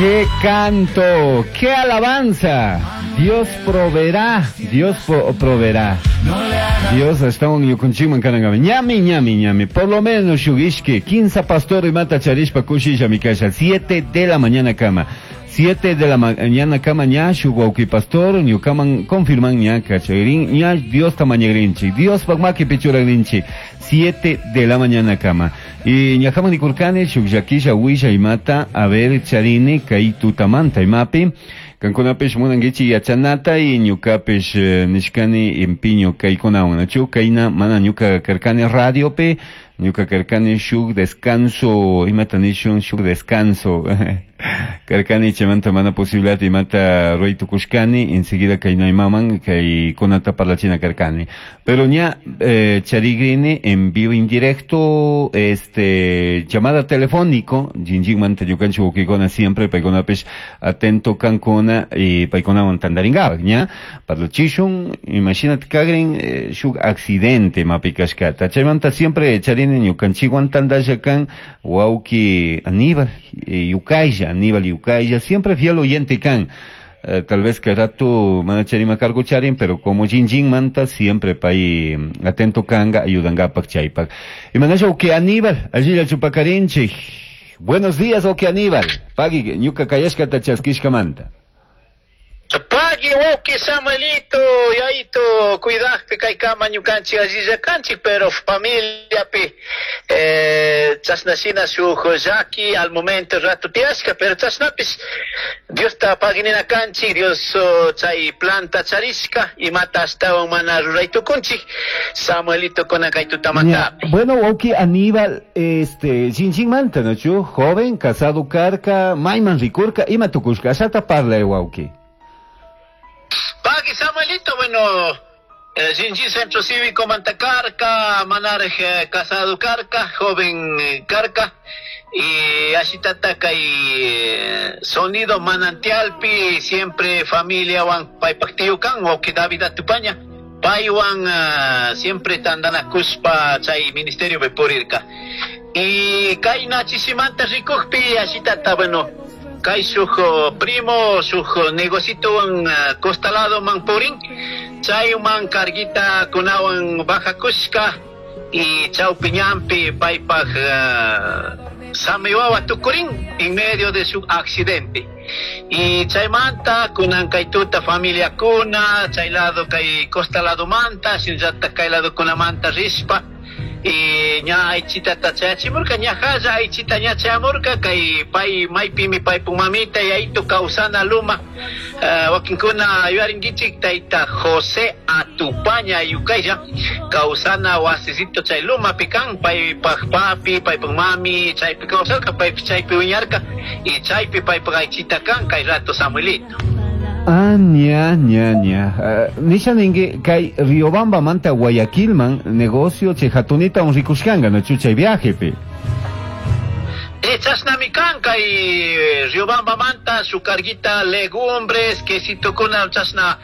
¡Qué canto! ¡Qué alabanza! Dios proveerá, Dios proveerá. Dios ashtawan ñukanchikman kanankaman. Ñami, ñami, ñami. Por lo menos shuk ishki, 15 pastor imata charishpa kushillami kasha. 7 de la mañana kama. 7 de la mañana kama ña shuk wawki pastor ñukaman confirman ña kachagrin, ña Diosta mañagrinchik. Diospak makipi churagrinchik. 7 de la mañana kama. Y ñajaman nikurkani shuk llakilla willa imata a ver charini kay tutamanta imapi. Kankunapish munankichik yachanata y ñukapish nishkani empiño kaykunawan, nachu kayna mana ñuka karkani radiopi, ñuka karkani shuk descanso, imata nishun shuk descanso. Karkani chaymanta mana posibilidad imata ruray tukushkani, enseguida kayna imaman kaykunata parlachina karkani. Pero ña charigrini en vivo en directo, llamada telefónico, jinjinmanta ñukanchik wawkikuna siempre paykunapish atento kankuna y paykunawan tantarinkapak, ña parlachishun, imagínate kagrin shuk accidente mapi kashkata. Chaymanta siempre charini ñukanchikwan tantalla kan wawki Aníbal Yucaya, Aníbal Yucaya, siempre fiel oyente kan. Tal vez que rato mana charima cargo charin, pero como jinjin manta siempre pay atento kanga ayudangapak chaypak. Y manasha oke Aníbal, allí la chupacarinchi. Buenos días, oke Aníbal. Pagui, ñuka kayashka tachaskishka manta. Pagui, oke Samuelito, yaito, cuidajpi kaykama ñukanchik allilla kanchik, pero familiapi chashnashina shuk llaki al momento rato tiyashka, pero chashnapish Diosta paginina kanchik, Dios chay planta charishka, imata ashtawan mana ruray tukunchik, Samuelito kuna kay tutamantapi. Ya, bueno, oke Aníbal, jinjin manta, ¿no, chu? Joven, casado karka, mayman rikurka, ima tukushka, ashata parla, wauki. Pagui Samuelito, bueno, Jinjin Centro Cívico Mantacarca, Manarje casado Carca, joven Carca, y Ashitataka y sonido manantialpi, siempre familia wan paipaktiukan, o que David Atupaña, paiwan siempre tandanakuspa chay ministerio bepurirka. Y kaina chisimanta rikukpi, Ashitata, bueno, kay shuk primo, shuk negocito wan costalado manpurin, chay man carguita kunawan baja kushka, y chaupiñampi paypaj samiwawa tukurin en medio de su accidente. Y chaymanta kunan kaytuta familia kuna, chay lado kay costa lado manta, shinllata kay lado kunamanta rispa, y ña aychita tachayachimurka, ña jalla aychita ña chayamurka, kay pay maypimi paypun mamita y aytu kawsana luma. Wakinkuna yuyarinkichik tayta José Atupaña Yucaya, kawsana wasisito chay lumapi kan, paypaj papi, paypaj mami, chaypi kawsarka, paypi chaypi wiñarka, y chaypi paypaj aychita kan, kay rato Samuelito. Ah, ña, ña, ña. Nisha ningue, kay Riobamba manta Guayaquilman, negocio che jatunita un rikushkanga, no chuchay viaje, pe. Chashnami kan, kay Riobamba manta, su carguita legumbres, quesito kuna chashna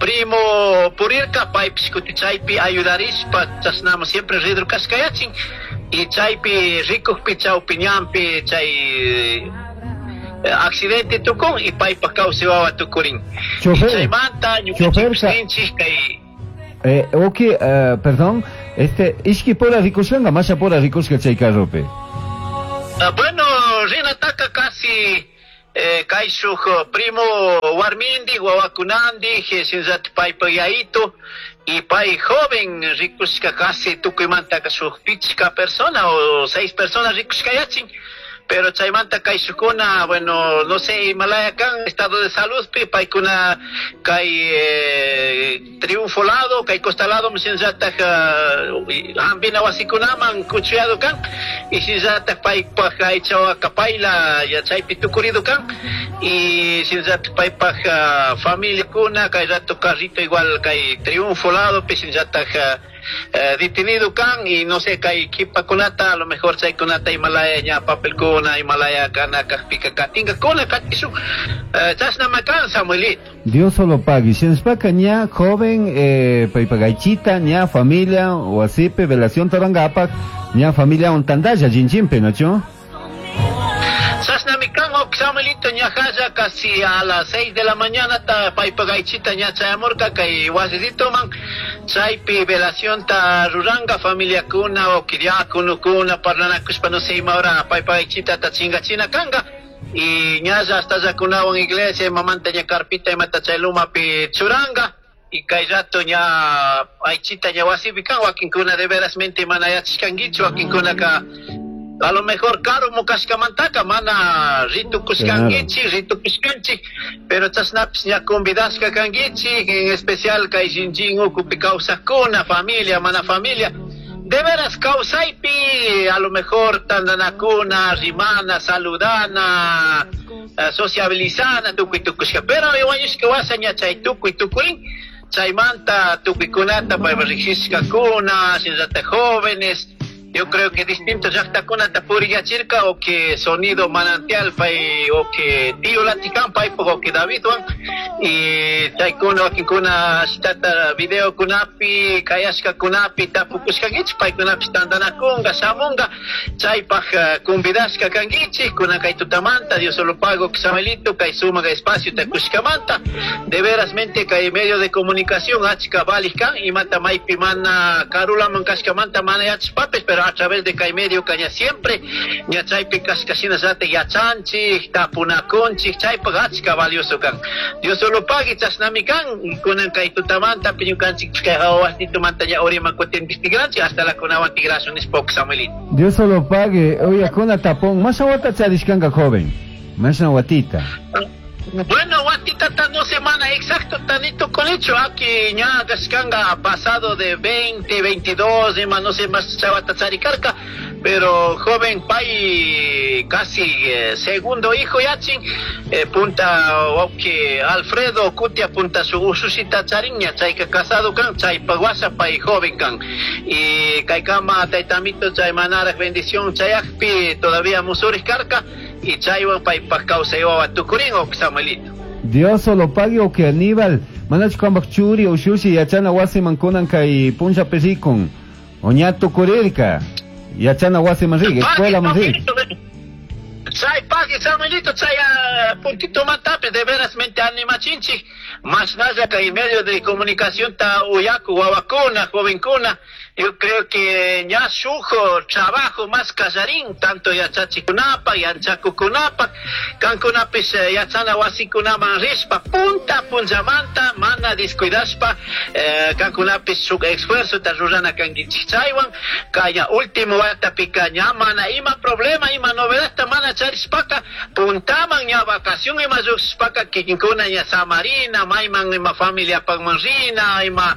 primo purirka, paypish kuti chaypi ayudarishpa, chashnama siempre ridru kashkayachin, y chaypi rikukpi chawpi ñanpi, chay accidente tukun y paypa kawsay wawa tukurin. Chofer, Y chaymanta ñukanchik chofer ka ninchik kay Ok, perdón, ishki pura rikushkanga, masha pura rikushka chay carrope. Ah, bueno, rinataka casi kay shuk primo warmindi, wawakunandi, shinllata paypa yayito, y pay joven rikushka casi tukuymantaka shuk pichka persona o 6 personas rikushkayachin. Pero chaymanta kay shukuna, bueno, no sé, Himalaya kan, estado de salud, pi, paykuna kay triunfo lado, kay costa lado, shinllata hampina wasikunaman kuchuyado kan, y shinllata paypaj aychawa kapayla, ya chaypi tukurido kan, y shinllata paypaj familia kuna, kay rato carrito igual kay triunfo lado, pi, shinllata detenido kan, y no sé, kay kipa kunata, a lo mejor chay kunata Himalaya ña papel kuna, Himalaya kana, kajpika katinga kuna, katishu chashna makan, Samuelito. Dios solo pague. Shinspaka ña joven paypagaychita, ña familia, o así, pe, velación tarangapak, ña familia ontandalla, jinjimpe, ¿no, chu? Chashnami kan, ok, Samuelito ñajalla casi a las 6 de la mañana ta paypagaychita ña chayamurka kay wasisitoman chaypi velación ta ruranga familiakuna o diaconokuna parlanakushpa no sé ima hora paypagaychita ta chingachina kanga y ñalla hasta llakunawan iglesia imamanta ña carpita imata chay lumapi churanga y kay rato ña aychita ña wasipi kan wakinkuna de verasmente mana yachashkankichu wakinkunaka a lo mejor karumu kashkamantaka mana ritukushkankichik ritukushkanchik pero chashnapis ña convidashka kankichik en especial kay shinchín ukupi kawsakuna familia mana familia de veras kawsaypi a lo mejor tandanakuna rimana saludana sociabilizana tukuy tukushka pero wañushka wasa ña chay tukuy tukurin chaymanta tukuykunata paypa riqsishkakuna shinallata jóvenes. Yo creo que distintos llaqtakunata puriyachirka o que sonido manantial pay o que tío latikan paypaq o que Davidwan y chaykuna wakinkuna ashtata videokunapi kayashkakunapi tapukushkankichik paykunapis tantanakunqa shamunqa chaypaq convidashka kankichik kunan kay tutamanta Dios solo pago Samuelito kay sumaq espacio takushkamanta de verasmente kay medio de comunicación achka valij kan imata maypi mana karulaman kashkamanta mana yachashpapis pero a través de kay medio kaña siempre ña chaypi kashkashinallata yachanchik tapunakunchik chaypaq achka valioso kan. Dios solo pague chashnami kan kunan kay tutamanta ñukanchik kay hawasnitumanta ña uriman kutin tigranchik hasta la kunawan tigrashun nishpa Samuelito. Dios solo pague, oye, kuna tapón, más wata charishkanka joven, más watita. Bueno, watita ta no semana exacto tanito con hecho aquí ña kashkanga pasado de 20, 22, ima no sé más chavata charikarka, pero joven pay casi segundo hijo yachin punta que Alfredo Cutia punta su ususita chariña chayka casado kan chaypa wasa pay joven kan y kaykama taytamito chay manaraj bendición chayakpi todavía musuris karka y chaywan paypaj kawsay wawa tukurin o Samuelito. Dios solo pague o que Aníbal manachu kanpak churi ushushi yachana wasiman kunan kay punlla perikun o ña tukurirka yachana wasiman rik escuela man rik. Chay pague Samuelito chay puntito matape de verasmente animachinchik mashnalla kay medio de comunicación ta uyaku wawakuna jovenkuna. Yo creo que ña shujo trabajo más kallarin tanto yachachikunapa yanchakukunapa kankunapis yachana wasikunaman rishpa punta punllamanta mana descuidashpa kankunapis shuk esfuerzo ta rurana kankichik chaywan kaya último watapika ña mana ima problema ima novedad mana charishpaka puntaman ña vacación ima lluqshishpaka kikinkuna ña samarina mayman ima familiapakman rina ima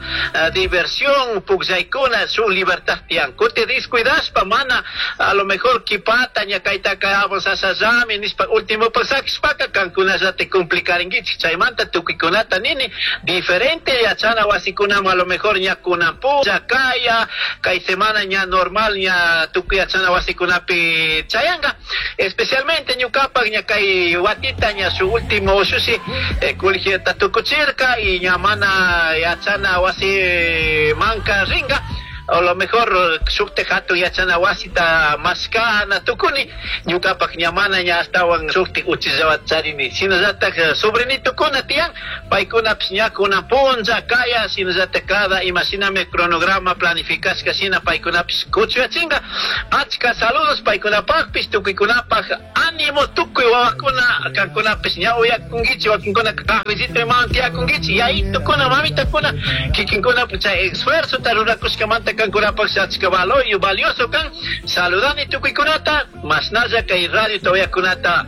diversión pukllaykuna su libertad tiyan kuti descuidashpa mana a lo mejor kipata ña kaytaka avanzashallami nishpa último pasakishpaka kankunallata complicarinkichik chaymanta tukuykunata nini diferente yachana wasikunaman a lo mejor ña kunan punlla kaya kay semana ña normal ña tukuy yachana wasikunapi chayanga especialmente ñukapak ña kay watita ña su último ushushi colegiota tukuchirka y ña mana yachana wasi manka ringa a lo mejor shukte hatu yachana wasita maskana tukuni ñukapak ña mana ña astawan shukti uchillawata charini shinallatak sobrinitukuna tiyan paykunapis ña kunan punlla kaya shinallatak cada imashinami cronograma planificashka shina paykunapis kuchuyachinga achka saludos paykunapakpis tukuykunapak ánimo tukuy wawakuna kankunapis ña uyakunkichik wakinkuna cafecito imawan tiyakunkichik yayitukuna mamitakuna kikinkunapi chay esfuerzota rurakushkamanta kankunapaq achka valioso kan saludani tukuykunata mashnalla kay radio todavía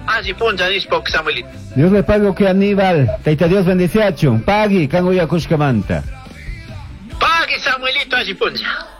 alli punlla nishpa Samuelito. Dios le pague que Aníbal, Taita Dios bendeciachun, pagui kan uyakushkamanta. Pagui Samuelito alli punlla.